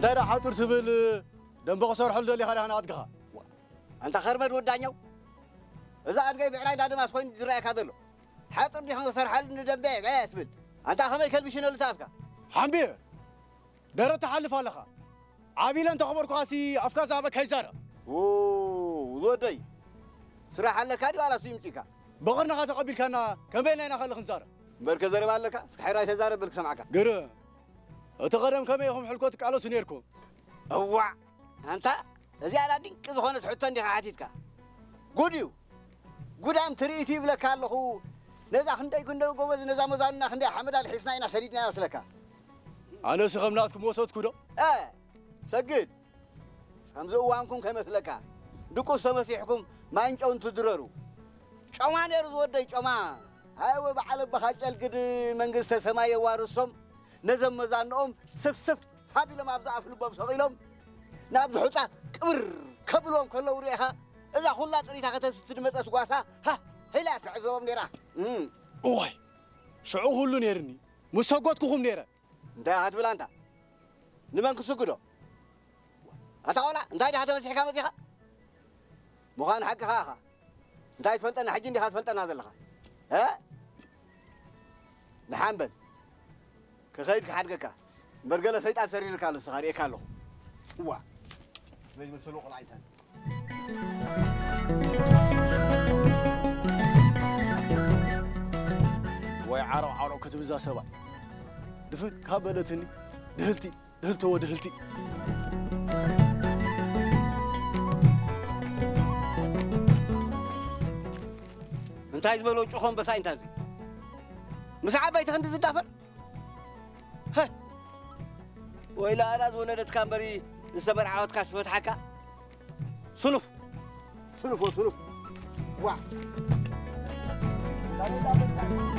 እንታይ ደኣ ሓጹር ትብል? ደንበ ክሰርሐሉ ደሊኻ ዲኻ ንኣድግኻ? ኣንታ ኸርበድ ወዳኛው፣ እዛ ኣድጋይ ብዕራይ እንዳ ደማስ ኮይኑ ዝረኣየካ ዘሎ። ሓጹር ዲኻ ክሰርሓሉ ንደንበ ገያ ትብል? ኣንታ ከመይ ከልብሽነሉ ተኣፍካ? ሓምብየ፣ ደረት ትሓልፍ ኣለኻ። ዓቢለ እንተኸበርኩኻሲ ኣፍካ ዝሃበካ ይዛረብ። ው፣ ዝወደይ፣ ስራሕ ኣለካ ድዩ ዋላ ስዩም ጪካ? ብቐርንኻ ተቐቢልካና ከመይ ኢልና ኢና ካልእ ክንዛረብ? እምበርከ ዘረባ ኣለካ? እስኪ ሕራይ ተዛረብ በል ክሰምዓካ። ግርም። እቲ ቐደም ከመይ ኢኹም ሕልኮ ትቃለሱ ነይርኩም? እዋዕ! ኣንታ፣ እዚኣ ድኣ ድንቂ ዝኾነት ሕቶ እንዲኻ ሓቲትካ። ጉድ እዩ። ጉዳም ትርኢት ይብለካ ኣለኹ። ነዛ ክንደይ ክንደይ ጎበዝ፣ ነዛ መዛኑና ክንደይ ሓመድ ኣልሒስና ኢና ሰዲድና ይመስለካ። ኣነስ ከም ናትኩም ወሰድኩ ዶ? እ፣ ሰግድ። ከምዚ እዋንኩም ከይመስለካ። ድቁስ ተመሲሕኩም ማይን ጨውን ትድረሩ። ጮማ ነይሩ ዝወደይ ጮማ። ኣይወ በዓል ኣቦኻ ጨልግድ መንግስተ ሰማይ የዋርሶም። ነዘም መዛንኦም ስፍስፍ ሃቢሎም ኣብ ዝኣፍ ልቦም ሰቒሎም ናብዚ ሑጻ ቅብር ከብልዎም ከለዉ ርኢኻ እዛ ኩላ ጥሪታ ከተስቲ ዝመጸት ጓሳ ሃ ሄላ ትዕዘቦም ነይራ። እም። እዋይ፣ ሽዑ ኩሉ ነይርኒ፣ ምስ ሰጎድኩኹም ነይረ። እንታይ ኢኻ ትብል ኣንታ? ንመን ክስግዶ? ኣታ ቆልዓ፣ እንታይ ዲኻ ተመሲሕካ መጺኻ? ምዃኑ ሓቅኻ ኢኻ። እንታይ ትፈልጠና? ሕጂ እንዲኻ ትፈልጠና ዘለኻ። እ? ደሓን በል። ክኸይድ ክሓድገካ። እምበር ገለ ሰይጣን ሰሪርካ ኣሎ፣ ንስኻ ርእየካ ኣለኹ። እዋ። መይ ዝመሰሉ ቆልዓ ይታን። ወይ ዓሮቕ ዓሮቕ ክትብል እዛ ሰብኣይ። ድፍን ካብ በለትኒ፣ ድህልቲ፣ ድህልተዎ ድህልቲ። እንታይ ዝበሎ ጭኾ ኣንበሳ እንታይ እዚ? ምስ ዓበይቲ ክንዲ ዝዳፈር? ሀ! ወይላ ኣዳ ዝወለደትካ እምበሪ ዝተመርዓወትካ ዝፈትሓካ? ስኑፍ! ስኑፍ ወ ስኑፍ! ዋ!